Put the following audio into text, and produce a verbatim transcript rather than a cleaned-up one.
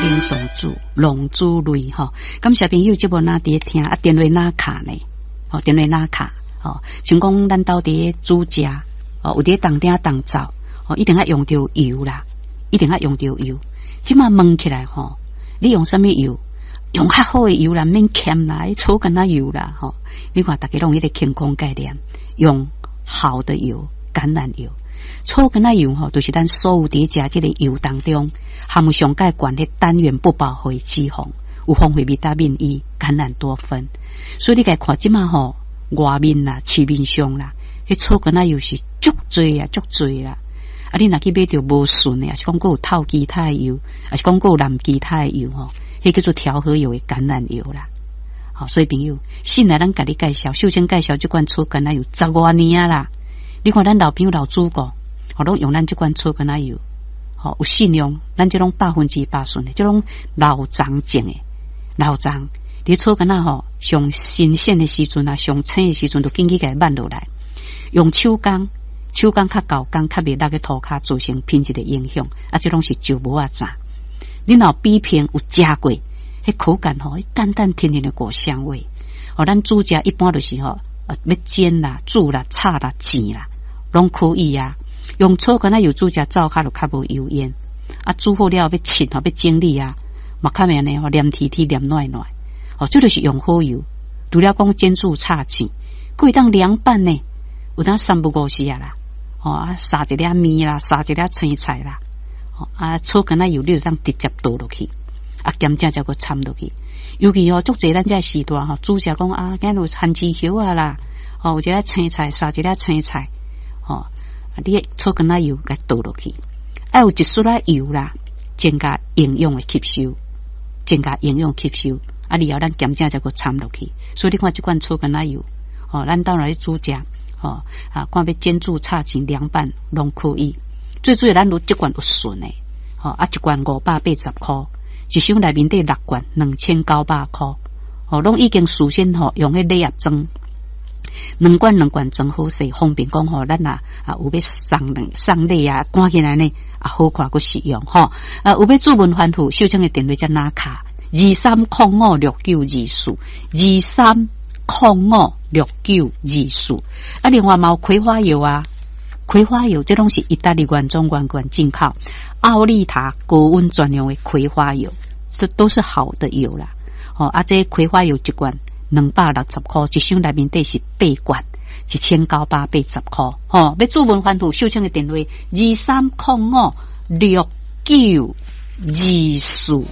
英上煮龍珠淚吼。感謝朋友節目若佇咧聽啊，電話哪敲呢？吼，電話哪敲？吼，像講咱兜佇咧煮食，哦，有佇咧當鼎當灶，吼，一定愛用著油啦，一定愛用著油。這馬問起來吼，你用啥物油？用較好的油啦，免儉啦，草柑仔油啦，吼。你看逐家攏有彼個健康概念，用好的油，橄欖油。草柑仔油吼，就是咱所有佇咧食這个油當中，含有上蓋懸的單元不飽和脂肪，有豐富維他命 E、橄欖多酚。所以你共看這馬吼，外面啦、市面上啦，彼草柑仔油是足濟啊，足濟啦。啊，你若去買著無純的，抑是講閣有透其他的油，抑是講閣有淋其他的油吼，彼叫做調和油的橄欖油啦。好，所以朋友，先來咱共你介紹，秀清介紹這款草橄欖油十外年啊啦。你看咱老朋友老主顧，吼，攏用咱這款草橄欖油，吼，有信用，咱這攏百分之百純的，這攏老欉種的，老欉。你草橄欖吼，上新鮮的時陣啊，上青的時陣，就緊去共伊挽落來，用手工，手工較厚工，較袂落去塗跤，造成品質的影響。啊，這攏是石磨仔榨。你若有比拼有食過，彼口感吼，淡淡甜甜的果香味。吼，咱煮食一般就是吼，欲煎啦、煮啦、炒啦、煎啦，攏可以啊。用草柑仔油煮食，灶跤就較無油煙。啊，煮好了欲切吼，欲整理啊，嘛較袂按呢吼，黏貼貼、黏軟軟。哦，這就是用好油。除了講煎煮炒煎，閣會當涼拌呢。有當三不五時啊啦，吼啊，撒一粒麵啦，撒一粒青菜啦，吼啊，草柑仔油你就當直接倒落去，啊，鹹醬才閣摻落去。尤其吼，足濟咱這時代吼，煮食講啊，今日有番薯葉仔啦，吼，有一粒青菜，撒一粒青菜，吼，啊，你草柑仔油共倒落去，愛有一絲仔油啦，增加營養的吸收，增加營養吸收。啊，然後咱鹹醬才閣摻落去。所以你看這款草柑仔油，吼，咱兜來煮食，吼，啊，看欲煎煮炒煎涼拌攏可以。最主要咱有這罐有純的，吼，啊，一罐五百八十箍，一箱內面底六罐兩千九百箍，吼，攏已經事先吼用彼禮盒裝，兩罐兩罐裝好勢，方便講吼，咱若啊有欲送禮送禮啊，趕起來呢啊好看閣實用吼。啊，有欲諮詢番號，秀清的電話才哪敲？二三空五六九二四，二三空五六九二四。啊，另外嘛有葵花油啊，葵花油這攏是意大利原裝原罐進口，奧利塔高溫專用的葵花油，這都是好的油啦。吼，啊，這葵花油一罐兩百六十箍，一箱內面底是八罐，一千九百八十箍。吼，欲諮詢番號，秀清的電話二三空五六九二四。